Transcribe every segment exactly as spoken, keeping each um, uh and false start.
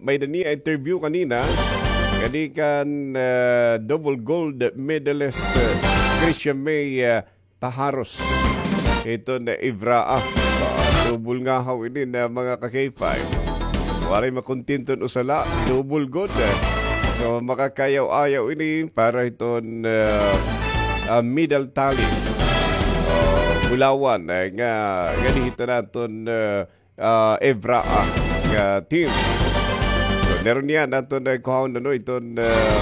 may-ada niya interview kanina, kadi kan, ah, double gold medalist, ah, Christian May, ah, Taharos. Iton EVRAA. Ah, double ngahaw ini na mga ka-K five. Waray makontento usa la, double gud. So, makakayaw-ayaw ini para iton, ah, ah, medal tally. Ah, bulawan, eh, nga, nga dihito naton, ah, ah, EVRAA nga team. So, meron niya naton, ah, kuhaon, ano, iton, ah,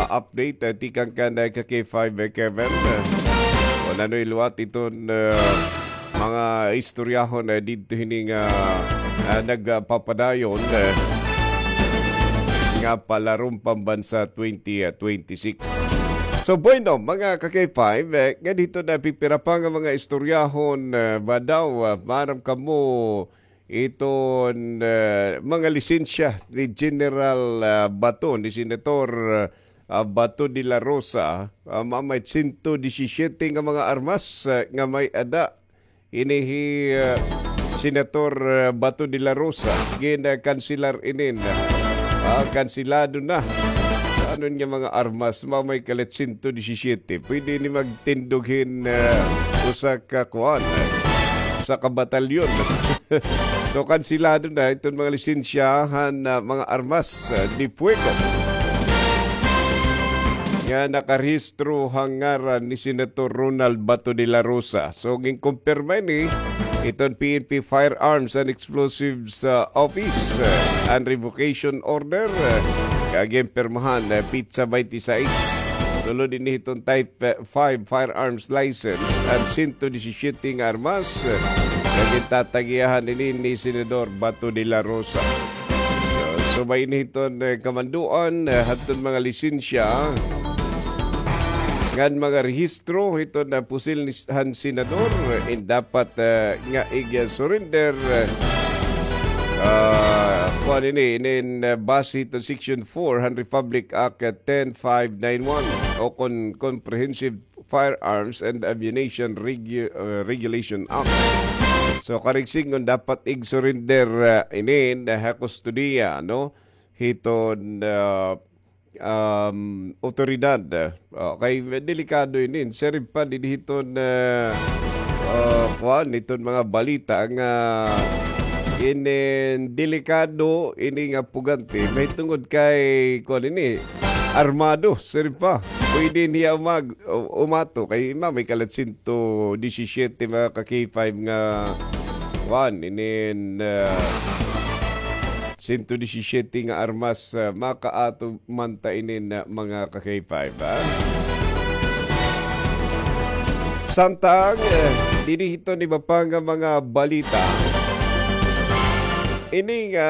ah, update, ah, tikang kan, ah, ka-K five, eh, Kevin. Ah, o nano liwat iton, ah, mga istoryahon, ah, didto hini nga, ah, nagpapadayon, ah, nga palarom pambansa twenty, ah, twenty-six. So, bueno, mga ka-K five, eh, nga didto na pipira pa nga mga istoryahon, ah, ba daw, ah, maaram kamo iton, ah, mga lisensya ni General, ah, Bato, ni Senator, ah, Bato de la Rosa, ah, mamay sento disisiyete nga mga armas, ah, nga may-ada ini hi, ah, Senator, ah, Bato de la Rosa, gin, ah, kanselar inin. Ah, kanselado na. Ano nga mga armas, mamay kalit sento disisiyete. Pwede ini magtindog hin, ah, usa ka kuan, ah, usa ka batalyon. So, kanselado na iton mga lisensya han, ah, mga armas, ah, de fuego nga nakarehistro han ngaran ni Senator Ronald Bato de la Rosa. So, ginkumpirma ini iton P N P Firearms and Explosives, ah, Office, ah, and Revocation Order, ah, nga ginpirmahan, ah, petsa twenty-six. Sulod ini hiton type, ah, five firearms license and sento disisiyete nga armas, ah, nga gintatagiyahan ini ni Senador Bato de la Rosa. So, subay ini hiton, eh, kamandoan, eh, hadton mga lisensya ngan mga rehistro hiton, ah, pusil ni s-, han senador, eh, in dapat, eh, nga ig-surrender, eh, ah, kuan ini, inin, eh, base hiton Section four han Republic Act, eh, ten five nine one o kon Comprehensive Firearms and Ammunition Regu-, uh, Regulation Act. So, karig sidngon dapat ig-surrender, uh, ini ha kustodiya, no? Hiton, uh, um, otoridad. Uh, kay delikado ini. Siring pa dinhi hiton, uh, uh, kuan, hiton mga balita nga inin delikado ini nga pugante. Mahitungod kay, kuan ini, armado, siring pa. Pwede niya umag-, u-, umato kay mamay kalit sento disisiyete mga ka-K five nga kuan, inin, ah, sento disisiyete nga armas, ah, makaato man ta inin, ah, mga ka-K five, ha? Samtang, eh, dinhi hiton iba pa nga mga balita. Ini nga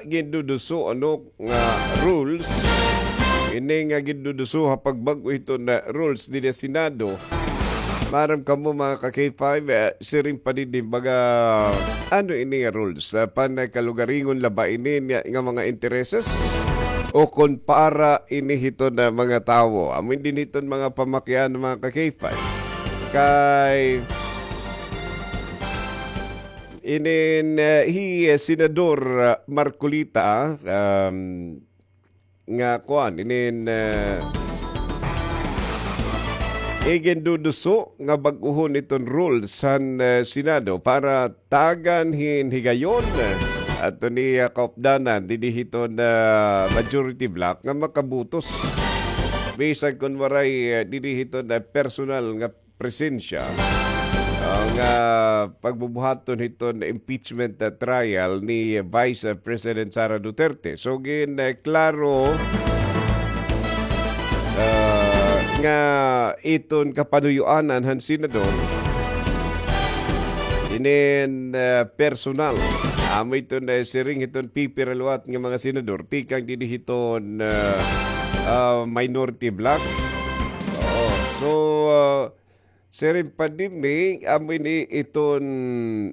ginduduso, ano, nga rules, ini nga ginduduso ha pagbag-o hiton rules dinhi ha Senado. Maaram kamo, mga ka-K five, eh, siring pa dinhi, baga, ano ini nga rules? Ah, pankalugaringon la ba ini nga, nga mga intereses? O kon para ini hiton mga tawo? Amo dinhi hiton mga pamakian, mga ka-K five. Kay inin, eh, hi, eh, Senador, ah, Marcoleta, um, nga kuan, inin, eh, iginduduso nga bag-ohon iton rules han, eh, Senado para tagan hin higayon, eh, ato ni, ah, kaupdanan dinhi hiton, ah, majority bloc nga makabutos. Bisan kon waray, eh, dinhi hiton, ah, personal nga presensya, ah, nga pagbubuhaton hiton impeachment, ah, trial ni Vice, ah, President Sara Duterte. So, gin, ah, klaro, ah, nga iton kapanuyoanan han senador, inin, ah, personal. Amo iton, ah, siring hiton pipira liwat nga mga senador tikang dinhi hiton, ah, ah, minority bloc. Oo. So, ah, siring pa dinhi, amo ini iton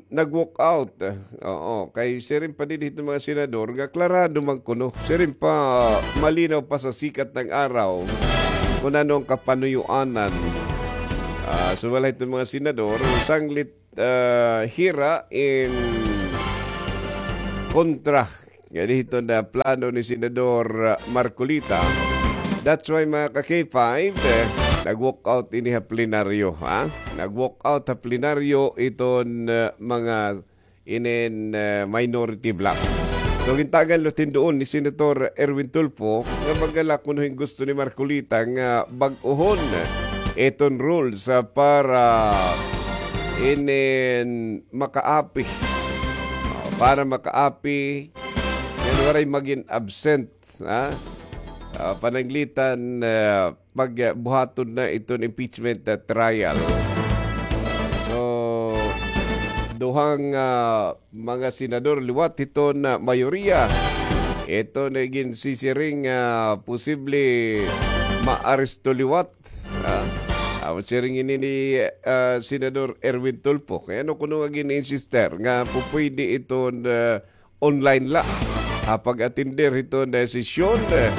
nag-walk out. Oo, kay siring pa dinhi iton mga senador nga klarado man kuno. Siring pa, malinaw pa sa sikat ng araw kon ano an kapanuyoanan. Ah, so, wala iton mga senador, sanglit, ah, hira in kontra Nga dito na plano ni Senador, ah, Marcoleta. That's why, mga ka-K five, eh, nag-walk out ini ha plenaryo, ha? Nag-walk out ha plenaryo iton, ah, mga inin, ah, minority bloc. So, gintagan liwat hin duon ni Senator Erwin Tulfo nga magala kuno hin gusto ni Marcoleta nga bag-ohon iton rules, ah, para inin makaapi. Oh, para makaapi ngan waray magin absent, ha? Ah, pananglitan, ah, pagbuhaton na iton impeachment, ah, trial. So, duhang, ah, mga senador liwat hiton, ah, mayoriya. Ito na ginsisiring, ah, posible maaresto liwat. Ah, amo siring ini ni, ah, Senador Erwin Tulfo. Kay ano kuno nga gin-insister nga pupwede iton, ah, online la ha pag-atender hiton, eh, sesyon, eh.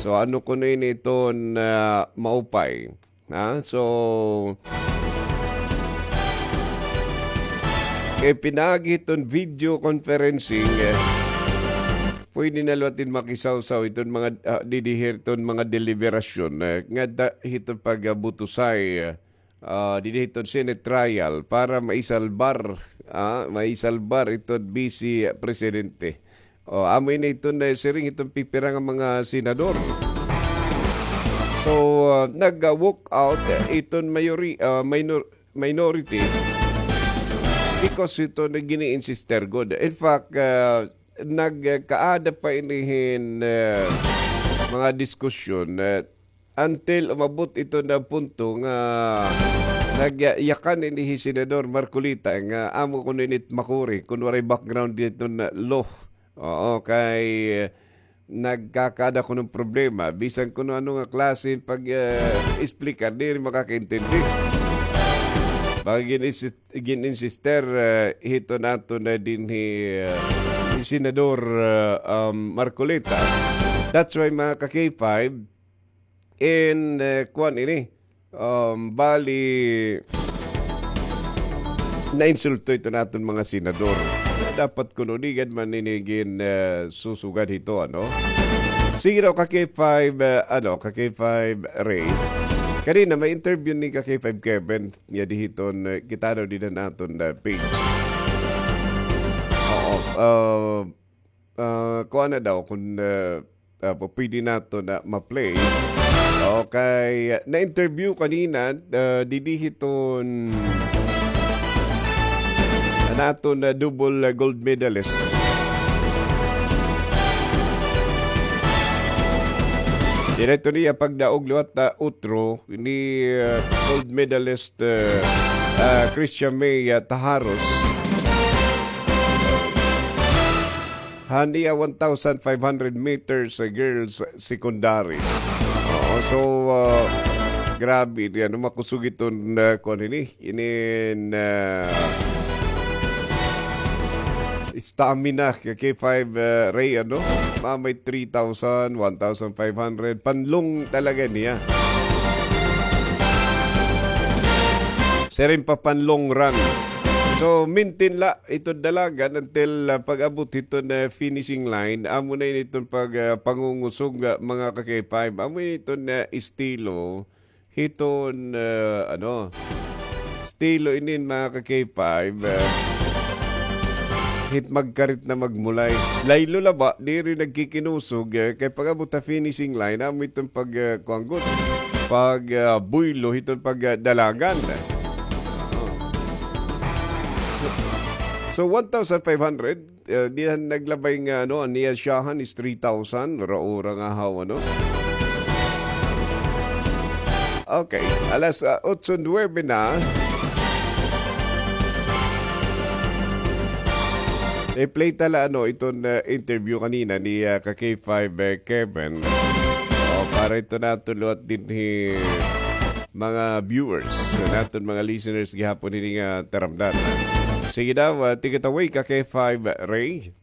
So, ano kuno ini iton, ah, maupay? Ha? So, kay pinaagi hiton video conferencing, eh, pwede na liwat hin makisawsaw iton mga, ah, didi hiton mga deliberasyon, eh, nga da, hiton pag, ah, butusay, eh, ah, didi hiton Senate trial para maisalbar, ah, maisalbar iton Vice Presidente. O, amo ini iton, eh, siring hiton pipira nga mga senador. So, ah, nag, ah, walk out, eh, iton mayori-, ah, minor-, minority because iton gini-insister gud. In fact, ah, nagkaada pa ini hin, ah, mga diskusyon, ah, until umabot iton punto nga nagyakan ini hi Senador Marcoleta nga amo kuno ini it makuri kun waray background hiton law. Oo, kay, eh, nagkakaada kuno hin problema. Bisan kuno ano nga klase hin pag, eh, explicar, diri makakaintindi. Pag gin-insis-, gin-insister, eh, hiton aton dinhi, eh, ni Senador, eh, um, Marcoleta. That's why, mga ka-K five, in, eh, kuan ini, um, bali, nainsulto iton aton mga senador. Dapat kuno di gad man ini gin, eh, susugad hito, ano? Sige daw, ka-K five, eh, ano, ka-K five Ray. Kanina, may interview ni ka-K five Kevin, nga didi hiton, eh, kita daw dida han aton, eh, page. Oo, ah, ah, kuan na daw kun, ah, ah, pwede naton na ma-play. Okay, na-interview kanina, ah, didi hiton an aton, ah, double, ah, gold medalist. Diri ito niya pagdaog liwat, ah, utro ni, ah, gold medalist, ah, ah, Christian May, ah, Tajaros. Han iya one thousand five hundred meters sa girls secondary. Oo, so, ah, grabe, di, ano, makusog iton, ah, kuan ini, inin, ah, stamina, ka-K five, ah, Ray, ano? Mga may three thousand, one thousand five hundred, panlong talaga niya. Siring pa panlong run. So, maintain la iton dalagan until, ah, pag-abot hiton, ah, finishing line. Amo na ini iton pag, ah, pangungusog, ah, mga ka-K five. Amo ini iton, ah, estilo hiton, ah, ano, estilo inin, mga ka-K five, ah, hit magkarit na magmulay. Laylo la ba, diri nagkikinusog, ah, kay pag-abot ha finishing line, amo iton pag, ah, kuan gud, pag, ah, buylo hiton pag, ah, dalagan. So, so one thousand five hundred, ah, dihan naglabay nga, ano, an iya siyahan is three thousand, ura-ura nga haw, ano. Okay, alas, ah, otso nuwebe na. I-play ta la, ano, iton, ah, interview kanina ni, ah, ka-K five, eh, Kevin. O, para ito naton liwat dinhi mga viewers, naton mga listeners gihapon hini nga taramdan. Sige daw, ah, take it away, ka-K five Ray.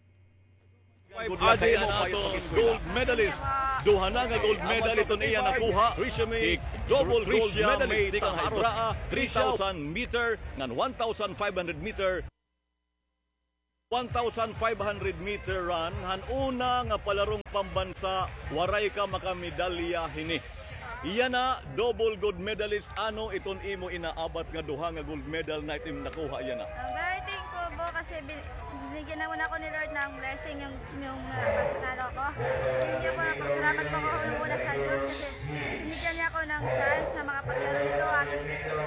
Adi an aton gold medalist. Duha na nga gold medal iton iya nakuha. Hi double gold medalist tikang ha Ibraa, three thousand meter ngan one thousand five hundred meter. one thousand five hundred meter run, han una nga palarong pambansa, waray ka makamedalya hini. Yana, double gold medalist, ano iton imo inaabat nga duha nga gold medal na iton nakuha yana? I'm very thankful po kasi bin-, binigyan naman ako ni Lord ng blessing yung, yung nakatalo ko. Thank you po, nagpasalamat po ako unang-una sa Diyos kasi binigyan niya ako ng chance na makapaglaro nito at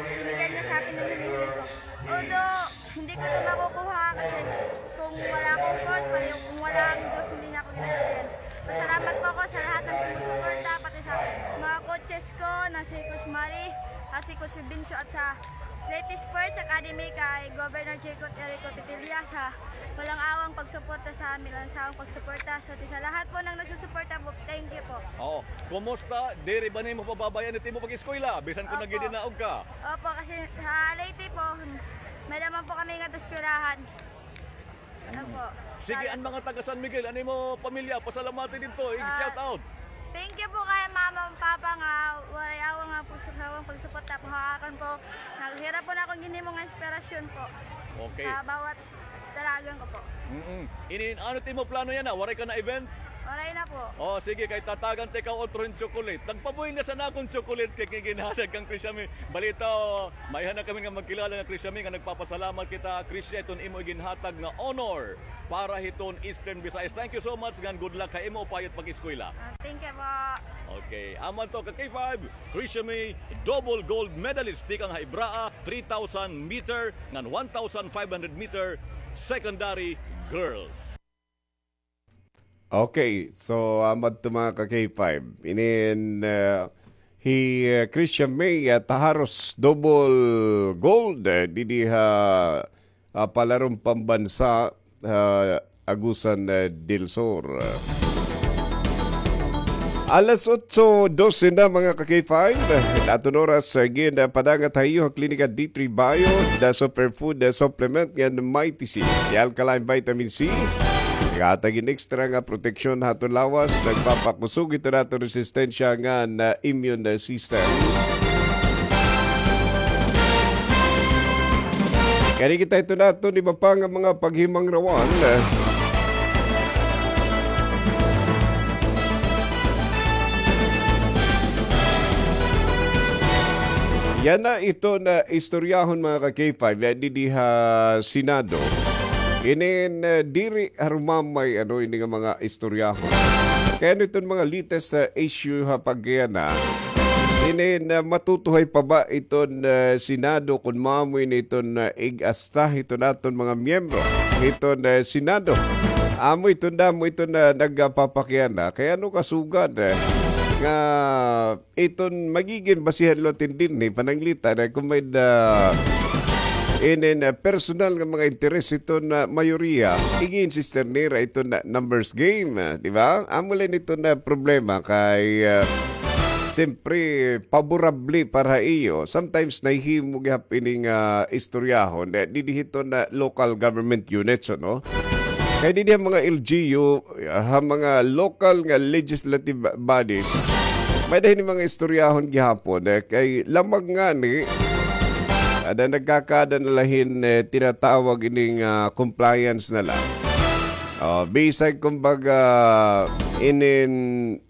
binigyan niya sa akin ng hinihiling ko. Although, hindi ko ito makukuha kasi kung wala akong coach, pati kung wala ang Diyos, hindi niya ako ginagawa. Pasalamat po ako sa lahat ng sumusuporta, pati sa mga coaches ko na si Coach Mari at si Coach Vincio at sa Leyte Sports Academy kay Governor Jaycott Erico Petilla sa walang awang pagsuporta sa amin, walang sawang pagsuporta sa, sa lahat po ng nagsusuporta po. Thank you po. Oo. Kumusta? Diri ba nimo pababayaan it imo pag-eskwela? Bisan kung nagidinaog ka. Opo, kasi sa Leyte po, may naman po kami nga eskwelahan. Opo. Sige, an mga taga San Miguel, an imo pamilya, pasalamati didto, i-shout out. Thank you po kay mama and papa nga waray awang nga pagsu-, sawang pagsuporta po ha akon po. Naghirap po na akong ginhimo nga inspirasyon po. Okay. Sa bawat dalagan ko po. Mm-mm. Inin, ano it imo plano yana? Waray ka na event? Waray na po. Oh, sige, kay tatagan ta ikaw otro hin chocolate. Nagpabuhi na sa nakon chocolate kay ginhatag kang Krisha May. Balita, oh, maiha na kami nga magkilala nga Krisha May nga nagpapasalamat kita, Krisha, iton imo iginhatag nga honor para hiton Eastern Visayas. Thank you so much, ngan good luck ha imo upayot pag-eskwela. Ah, thank you po. Okay, amo adto ka K five, Krisha May, double gold medalist tikang ha Ibraa, three thousand meter ngan one thousand five hundred meter secondary girls. Okay, so, amo adto mga ka K five. Inin, ah, hi, ah, Krisha May, ah, Taharos, double gold, eh, didi ha, ah, palarong pambansa, ah, Agusan, eh, del Sur. Alas otso dose na, mga ka K five. Aton oras, eh, gin, ah, padangat ha iyo ha Klinika D three Bio, the superfood, eh, supplement ngan Mighty C, the alkaline vitamin C. Naghatag hin extra nga proteksyon ha aton lawas, nagpapakusog hiton aton resistensya ngan, ah, immune system. Kani kita hiton aton iba pa nga mga paghimangrawan. Yana iton istoryahon, mga ka K five, eh, didi ha Senado. Inin, eh, diri harumamay, ano, ini nga mga istoryahon. Kay ano iton mga latest, eh, issue ha pagkayana? Inin, eh, matutuhay pa ba iton, eh, Senado kon mamo ini iton, eh, ig-asta hiton aton mga miyembro hiton, eh, Senado? Amo iton damo iton, eh, nagpapakayana. Kay ano kasugad, eh, nga iton magigin basihan liwat hin dinhi, pananglitan, eh, kon may-ada inin, ah, personal nga mga interes iton, ah, mayoriya, ig-i-insister nira iton, ah, numbers game, ah, di ba? Amo la ini iton, ah, problema kay, ah, siyempre, paborable para ha iyo. Sometimes, nahihimo gihap ini nga istoryahon, eh, didi hiton, ah, local government units, ano? Kay didi ha mga L G U, ha mga local nga legislative bodies, may-ada hini mga istoryahon gihapon, eh, kay lamang ngani, ada nagkakaada na la hin, eh, tinatawag ini nga compliance na la. Oh, bisag kumbaga, inin,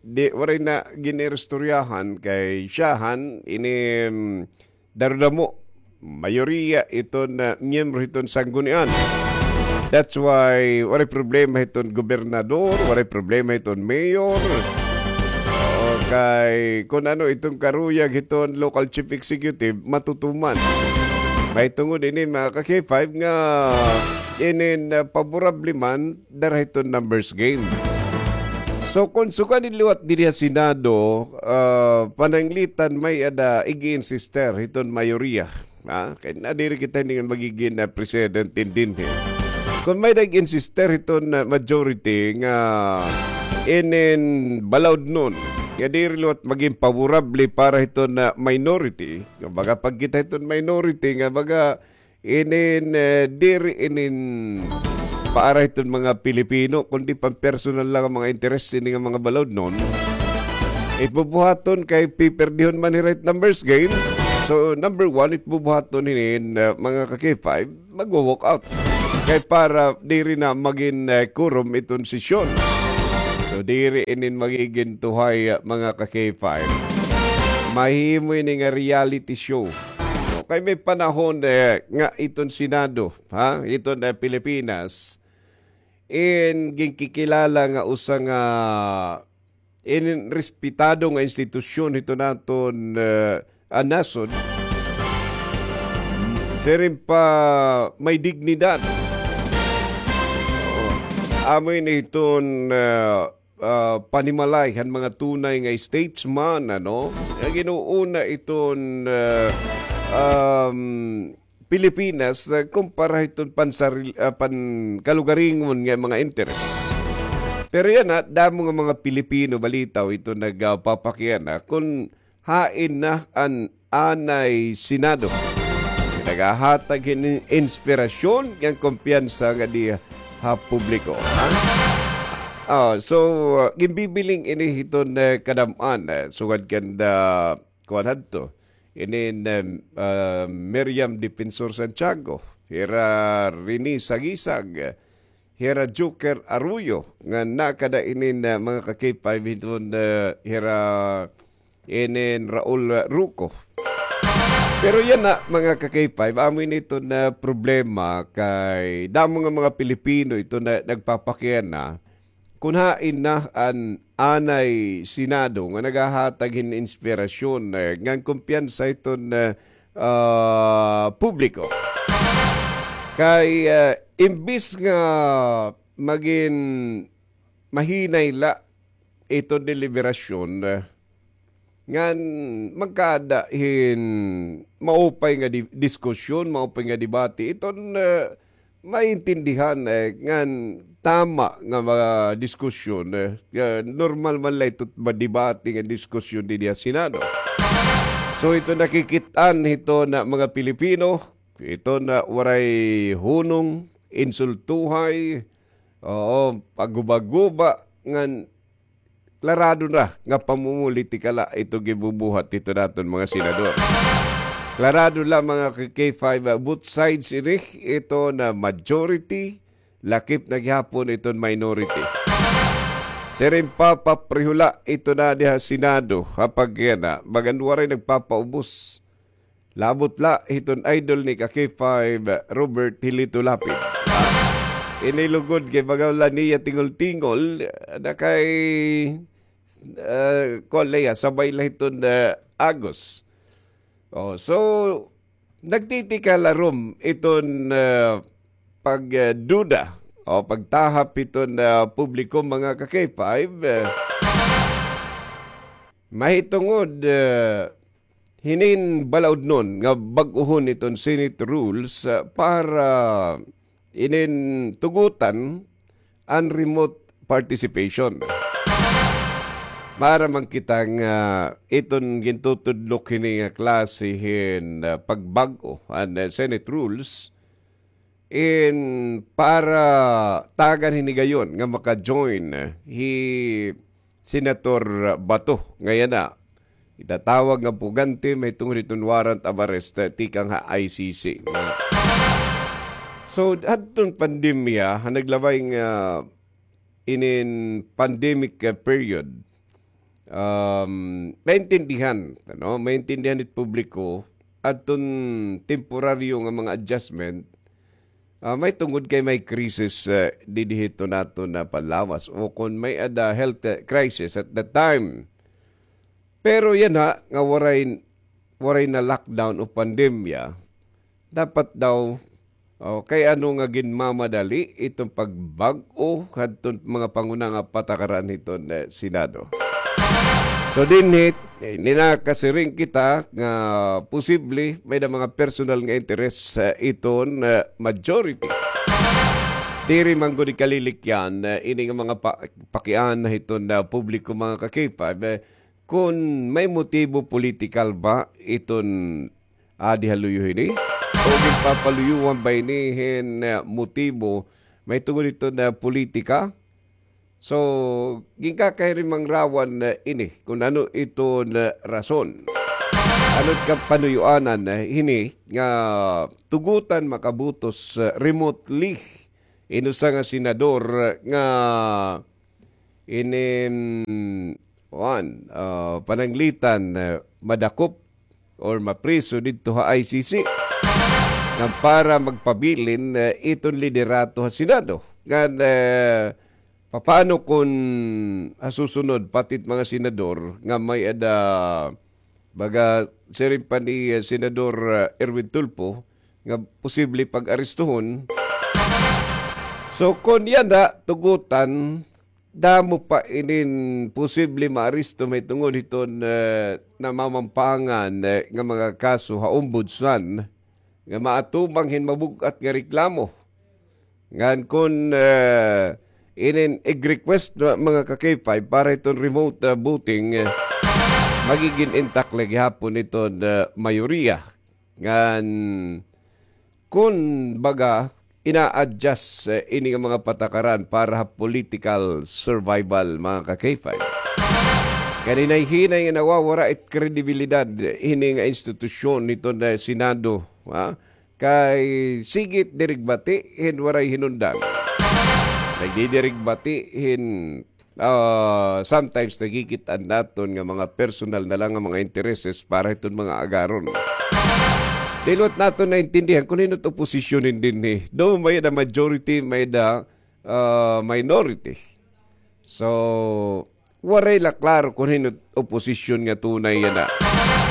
di, waray na gin-iristoryahan kay siyahan, ini, mm, darudamo, mayoriya iton, ah, miyembro hiton sanggunian. That's why waray problema hiton gobernador, waray problema hiton mayor. O kay kun ano iton karuyag hiton local chief executive, matutuman. Mahitungod ini, mga ka K five, nga inin, ah, paborable man dara hiton numbers game. So, kon sugad liwat diri ha Senado, ah, pananglitan may-ada ig-i-insister hiton mayoriya. Ha? Kay nadiri kita ini nga magigin, ah, president dinhi. Kon may nag-insister hiton, ah, majority nga inin balaudnon, nga diri liwat magin paborable para hiton, ah, minority. Kumbaga, pag kita hiton minority, nga baga, inin, eh, diri inin para hiton mga Pilipino, kundi pampersonal lang an mga interes ini nga mga balaudnon. It bubuhaton kay piperdihon man hira hit numbers game. So, number one, it bubuhaton hinin, eh, mga ka K five, magwo-walk out. Kay para diri na magin, eh, quorum iton sesyon. So, diri inin magigin tuhay, ah, mga ka-K five. Mahimo ini nga reality show. No? Kay may panahon, eh, nga iton Senado, ha? Iton, eh, Pilipinas, in ginkikilala nga usa nga in respetado nga institusyon hito naton, eh, ah, nasod. Siring pa may dignidad. Oo. Amo ini iton, eh, ah, panimalay han mga tunay nga statesman, ano? Nga ginuuna iton, eh, um, Pilipinas, ah, kumpara hiton pansaril-, ah, pankalugaringon nga mga interes. Pero yana, damo nga mga Pilipino, balitaw, ito nagpapakiana kun hain na an anay Senado. Nagahatag hin inspirasyon ngan kumpiyansa nga di ha publiko, ha? Ah, so, ah, ginbibiling ini hiton, eh, kadam-an, eh, sugad kanda kuan hadto. Inin, um, uh, Miriam Defensor Santiago, hira Rene Sagisag, hira Joker Arroyo, nga nakada inin, uh, mga ka-K five hiton, uh, hira inin Raul Roco. Pero yana, mga ka-K five, amo ini iton problema kay damo nga mga Pilipino iton nagpapakiana kun hain na an anay Senado nga nagahatag hin inspirasyon, eh, ngan kumpiyansa hiton, eh, ah, publiko. Kay, eh, imbis nga magin mahinay la iton deliberasyon, eh, ngan magkaada hin maupay nga di-, diskusyon, maupay nga debate. Iton, eh, maintindihan, eh, ngan tama nga mga diskusyon, eh, nga normal man la ito madebate nga diskusyon dinhi ha Senado. So, ito nakikit-an hito na mga Pilipino, ito na waray hunong, insultuhay, oo, pagguba-guba, ngan klarado na nga pamumulitika la ito gibubuhat hito naton mga senador. Klarado la mga K five, ah, both sides ini, ito na majority, lakip na gihapon iton minority. Siring pa, papreho la ito na diha Senado, ha pagkana, bagan waray nagpapaubos. Labot la hiton idol ni ka K five, Robert Hilito Lapid. Ini lugod kay baga la niya tingol-tingol, na kay, ah, kuan la iya, sabay la hiton, ah, agos. Oh, so, nagtitikalarom iton, ah, pagduda o pagtahap hiton, ah, publiko, mga ka K five, ah, mahitungod, ah, hinin balaudnon nga bag-ohon iton Senate rules, ah, para inin tugutan an remote participation. Para man kita nga iton gintutudlok hini nga klase hin, ah, pagbag-o an, ah, Senate rules, in para tagan hini gayon nga maka-join hi Senator Bato nga yana itatawag nga pugante mahitungod hiton warrant of arrest, eh, tikang ha I C C. So, hadton pandemya, ha naglabay nga inin pandemic, eh, period, um, maintindihan, ano, maintindihan hit publiko, adton temporaryo nga mga adjustment, ah, mahitungod kay may krisis, eh, didi hito naton nga panlawas, o kon may-ada health, eh, crisis at that time. Pero yana nga waray, waray na lockdown o pandemya, dapat daw, o, kay ano nga ginmamadali iton pagbag-o hadton mga panguna nga patakaran hiton, eh, Senado. So, dinhi, eh, ninakasiring kita nga posible may-ada mga personal nga interes, eh, iton, eh, majority. Diri man gud ikalilikyan, eh, ini nga mga pa-, pakiana hiton, eh, publiko, mga ka K five, eh, kon may motibo politikal ba iton adi ha luyo hini? O ginpapaluyuhan ba ini hin, eh, motibo mahitungod hiton, eh, politika? So, ginkakahirimangarawan, eh, ini kon ano iton, eh, rason. Ano ka panuyuanan, eh, hini nga tugutan makabutos, eh, remotely in usa nga senador, eh, nga inin, kuan, ah, pananglitan, eh, madakop or mapriso didto ha I C C nga para magpabilin, eh, iton liderato ha Senado. Ngan, eh, papaano kun ha susunod, pati it mga senador nga may-ada, baga, siring pa ni, eh, Senador, eh, Erwin Tulfo, nga posible pag-aristohon. So, kun yana tugutan, damo pa inin posible maaresto mahitungod hiton, eh, namamampangan, eh, nga mga kaso ha Ombudsman nga maatubang hin mabug-at nga reklamo. Ngan kun, eh, inin ig-request na mga ka-K five para hiton remote, eh, voting, eh, magigin intact la gihapon hiton, eh, mayoriya. Ngan kun baga, ina-adjust, eh, ini nga mga patakaran para ha political survival, mga ka-K five. Kay hinay-hinay nga nawawara it kredibilidad hini nga institusyon hiton Senado, ha? Kay sige it diri bati hin waray hinundan. Nagdidiri bati hin, ah, sometimes nagkikit-an naton nga mga personal na la nga mga intereses para hiton mga agaron. Di liwat naton naintindihan kun hin-o it oposisyon dinhi. Though may-ada majority, may-ada, ah, minority. So, waray la klaro kun hin-o it oposisyon nga tunay yana.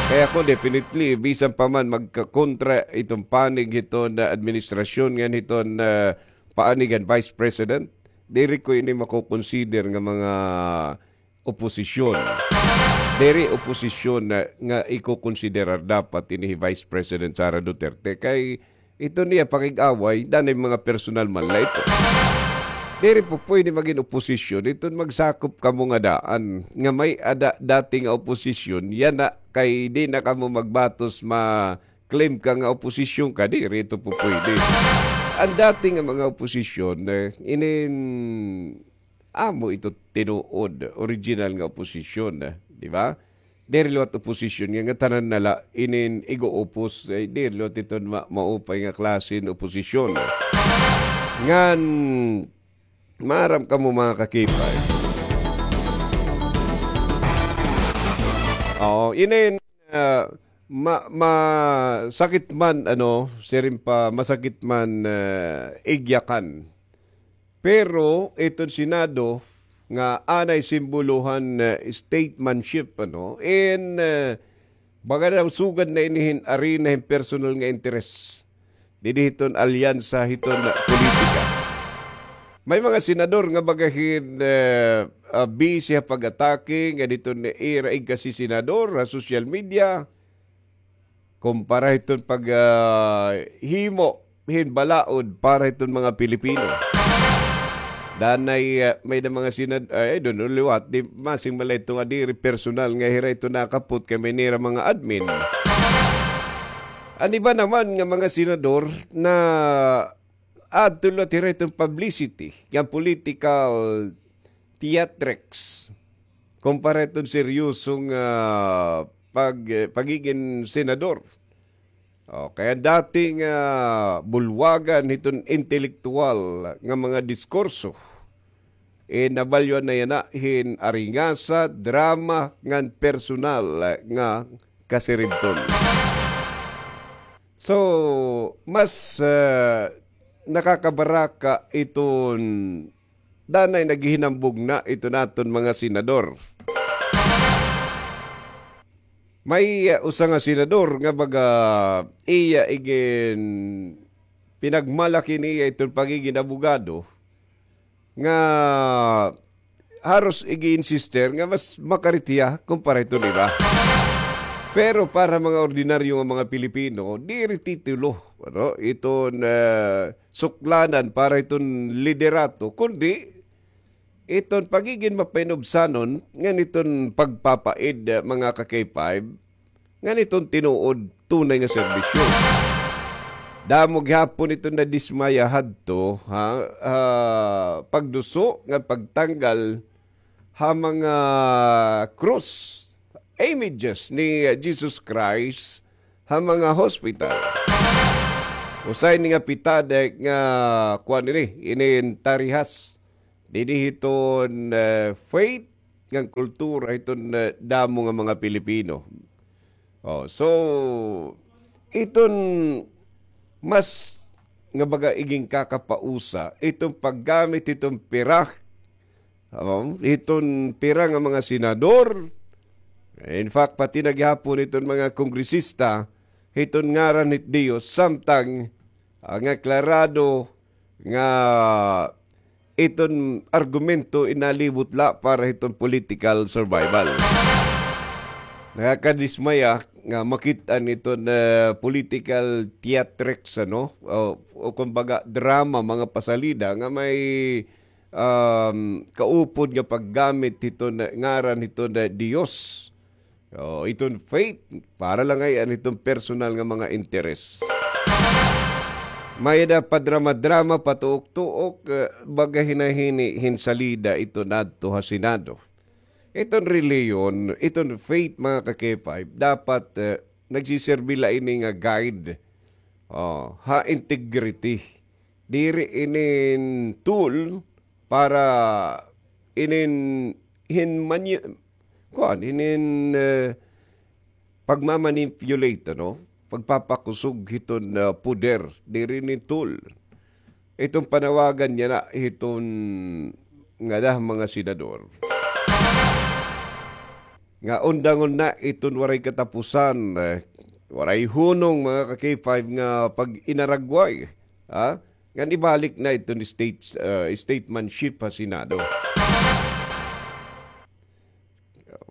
Kay ako, definitely, bisan pa man magkakontra iton panig hiton administrasyon ngan hiton, ah, panig han Vice President, diri ko ini mako-consider nga mga oposisyon. Diri oposisyon na, nga iko-konsiderar dapat ini hi Vice President Sara Duterte. Kay iton iya pakig-away, danay mga personal man la ito. Diri po pwede magin oposisyon. Iton magsakop kamo nga daan nga may-ada dati nga oposisyon, yana kay di na kamo magbatos ma-claim ka nga oposisyon ka, diri ito po pwede. An dati nga mga oposisyon, eh, inin amo ito tinuod, original nga oposisyon, eh, di ba? Diri liwat oposisyon nga, nga tanan na la inin ig-uupos, eh, diri liwat ito ma-, maupay nga klase hin oposisyon. Ngan, maaram kamo, mga ka-K five. Oo, inin, ah, ma-, masakit man, ano, siring pa, masakit man, ah, igyakan. Pero iton Senado nga anay simbolohan, eh, statesmanship, ano, in, eh, baga daw sugad na ini hin arena hin personal nga interes. Didi hiton alyansa hiton politika. May mga senador nga baga hin, eh, ah, busy ha pag-atake ngan hiton ira igkasi-senador ha social media. Kumpara hiton pag, ah, himo hin balaod para hiton mga Pilipino. Danay, ah, may-ada mga senad-, ay, I don't know, liwat, di, masing man la ito nga diri personal nga hira ito nakapot kay may nira mga admin. An iba naman nga mga senador na adto liwat hira iton publicity, nga political theatrics, kumpara iton seryosong, ah, pag-, eh, pagigin senador. O, kay an dati nga bulwagan hiton intelektuwal nga mga diskurso, eh, nabalyuan na yana hin aringasa, drama, ngan personal nga kasiribton. So, mas, eh, nakakabaraka iton danay naghihinambog na iton aton mga senador. May, uh, usa nga senador nga baga iya igin pinagmalaki niya iton pagigin abogado nga haros ig-insister nga mas makarit hiya kumpara hiton iba. Pero para mga ordinaryo nga mga Pilipino, diri titulo, ano, iton, eh, suklanan para iton liderato, kundi iton pagigin mapainubsanon ngan iton pagpapaid, eh, mga ka-K five, ngan iton tinuod tunay nga serbisyo. Damo gihapon iton nadismaya hadto, ha, ah, pagduso ngan pagtanggal ha mga krus images ni, uh, Jesus Christ ha mga hospital. Usa ini nga pitad nga kuan ini, inin tarihas dinhi hiton, uh, faith ngan kultura hiton, uh, damo nga mga Pilipino. Oh, so, iton mas nga baga iginkakapausa, iton paggamit hiton pira, oh, hiton pira nga mga senador. In fact, pati na gihapon iton mga kongresista, hiton ngaran hit Dios, samtang, ah, nga klarado nga iton argumento inalibot la para hiton political survival. Nakakadismaya nga makit-an iton, eh, political theatrics, ano? O, o kumbaga, drama, mga pasalida nga may, um, kaupod nga paggamit hiton ngaran hiton Dios. Oh, iton faith, para la ngay-an iton personal nga mga interes. May-ada padrama-drama, patuok-tuok, eh, baga hinahini hin salida iton adto ha Senado. Iton relihiyon, iton faith, mga ka-K five, dapat, eh, nagsiserbi la ini nga guide, oh, ha integrity. Diri inin tool para inin hin mani-, kuan, inin, eh, pagmamanipulate, ano? Pagpapakusog hiton, eh, poder, diri inin tool. Iton panawagan niya na hiton ngada mga senador nga undangon na iton waray katapusan, eh, waray hunong, mga ka-K five, nga pag-inaragway, ha? Ngan ibalik na iton state, eh, statesmanship ha Senado.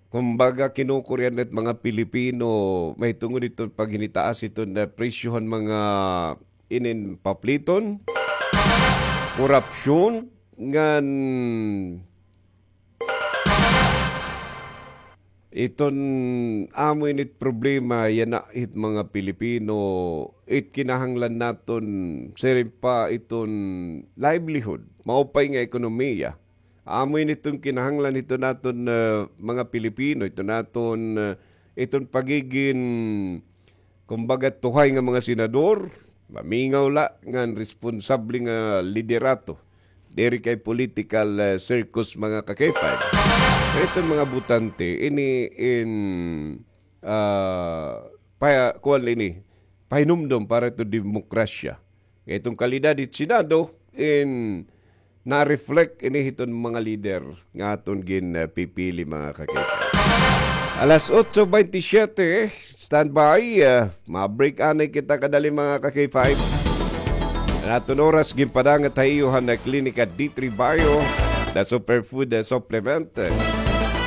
Kumbaga, kinukurian na it mga Pilipino, mahitungod iton paghinitaas iton, eh, presyo han mga inin papliton, korupsyon, ngan iton amo ini it problema yana hit mga Pilipino, it kinahanglan naton siring pa iton livelihood, maupay nga ekonomiya. Amo ini iton kinahanglan hiton aton, eh, mga Pilipino, hiton aton, eh, iton pagigin, kumbaga, tuhay nga mga senador, mamingaw la ngan responsable nga liderato. Diri kay political, eh, circus, mga ka-K five. Iton mga botante, ini in, ah, pa-, kuwan ini, pahinumdom para iton demokrasya. Nga iton kalidad hit Senado, in, na-reflect ini hiton mga lider nga aton gin, eh, pipili, mga ka-K five. Alas otso baynte siyete, standby, eh, ma-break anay kita kadali, mga ka-K five. An aton oras ginpadangat ha iyo han Klinika D three Bio, the superfood, eh, supplement.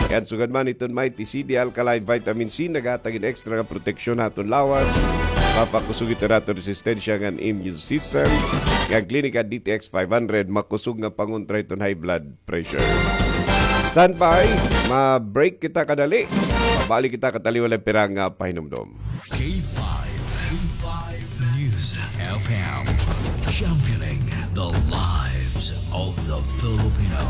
Ngan sugad man iton Mighty C D Alkaline Vitamin C, naghatag hin extra nga proteksyon ha aton lawas. Papakusog iton aton resistensya ngan immune system. Ngan Klinika D T X five hundred, makusog nga pangontra hiton high blood pressure. Standby, ma-break kita kadali. Mabalik kita kataliwan la pira nga pahinumdom. K five, K five News F M, championing the lives of the Filipino.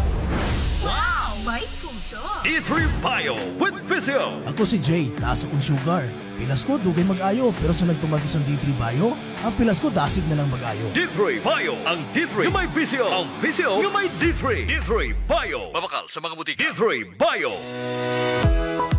Wow! May kumso! D three Bio with Visio. Ako si Jay, taas akon sugar. Pilas ko, dugay mag-ayo, pero sa nagtumar ko sa D three Bio, ang pilas ko dasig na lang mag-ayo. D three Bio, ang D three nga may Visio, ang Visio nga may D three. D three Bio. Mabakal sa mga butika. D three Bio.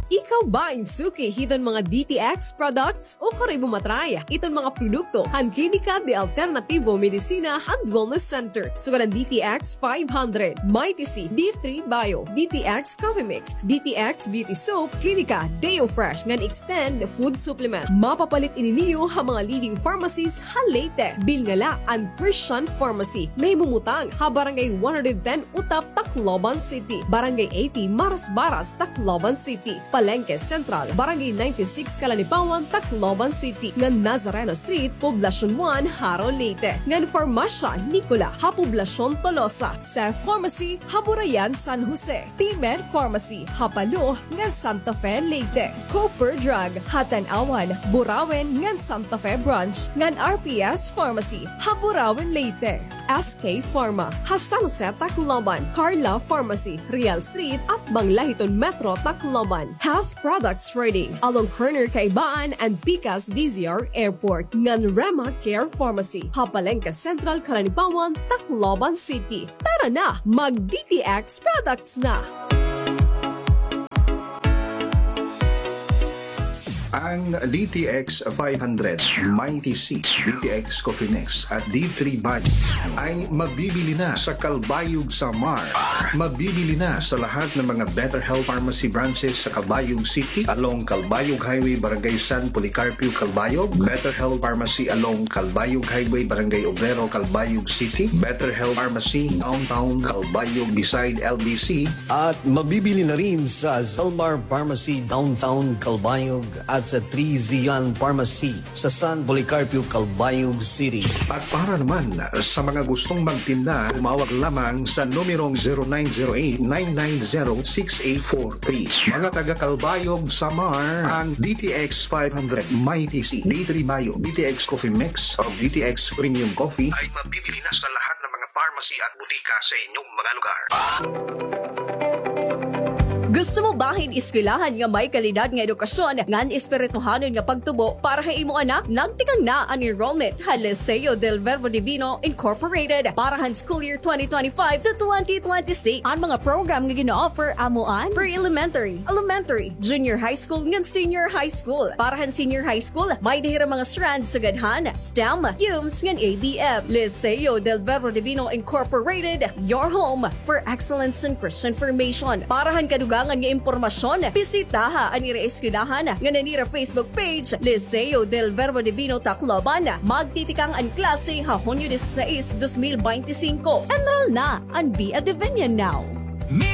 Ikaw ba in suki hiton mga D T X products o kari mo ma-try iton mga produkto han Klinika de Alternativo Medicina and Wellness Center? Sugad an D T X five hundred, Mighty C, D three Bio, D T X Coffee Mix, D T X Beauty Soap, Klinika Deo Fresh ngan Extend Food Supplement. Mapapalit ini niyo ha mga leading pharmacies ha Leyte. Bilnga la an Christian Pharmacy. Nahimumutang ha Barangay one hundred ten Utap, Tacloban City, Barangay eighty Marasbaras, Tacloban City, Palengke Central, Barangay ninety-six Calanipawan, Tacloban City, ngan Nazareno Street, Poblacion one, Jaro, Leyte, ngan Farmasya Nicola ha Poblacion Tolosa, Cef Pharmacy ha Burayan, San Jose, P-Med Pharmacy ha Palo ngan Santa Fe, Leyte, Cooper Drug ha Tanauan, Burauen ngan Santa Fe Branch, ngan R P S Pharmacy ha Burauen, Leyte. S K Pharma, ha San Jose, Tacloban. Carla Pharmacy, Real Street, atbang la hiton Metro, Tacloban. Health Products Trading, along corner Kaibaan and Pikas D Z R Airport. Ngan Rema Care Pharmacy, ha Palengke Central, Calanibaon, Tacloban City. Tara na, mag D T X products na! Ang D T X five hundred, Mighty C, D T X Coffee Mix at D three Bio ay mabibili na sa Calbayog, Samar. Mabibili na sa lahat ng mga Better Health Pharmacy branches sa Calbayog City, along Calbayog Highway, Barangay San Policarpio, Calbayog. Better Health Pharmacy along Calbayog Highway, Barangay Obrero, Calbayog City. Better Health Pharmacy Downtown Calbayog beside L B C. At mabibili na rin sa Zalmar Pharmacy Downtown Calbayog at sa Three Zion Pharmacy sa San Policarpio, Calbayog City. At para naman sa mga gustong magtinda, tumawag lamang sa numerong zero nine zero eight nine nine zero six eight four three. Mga taga Calbayog, Samar, ang D T X five hundred, Mighty C, D three Bio, D T X Coffee Mix, o D T X Premium Coffee ay mabibili na sa lahat ng mga pharmacy at butika sa inyong mga lugar. Gusto mo bahin eskwelahan nga may kalidad nga edukasyon ngan espirituhanon nga pagtubo para ha imo anak? Nagtikang na an enrollment ha Liceo del Verbo Divino Incorporated para han school year twenty twenty-five to twenty twenty-six. An mga program nga gina-offer amo an pre-elementary, elementary, junior high school, ngan senior high school. Para han senior high school, may-ada hira mga strand sugad han STEM, CUMS, ngan A B M. Liceo del Verbo Divino Incorporated, your home for excellence in Christian formation. Para han kadugangan nga impormasyon, bisitaha an ira eskwelahan ngan an ira Facebook page, Liceo del Verbo Divino Tacloban. Magtitikang an klase ha Hunyo dieciséis, dos mil beintisinko. Enroll na and be a Divinian now! Mira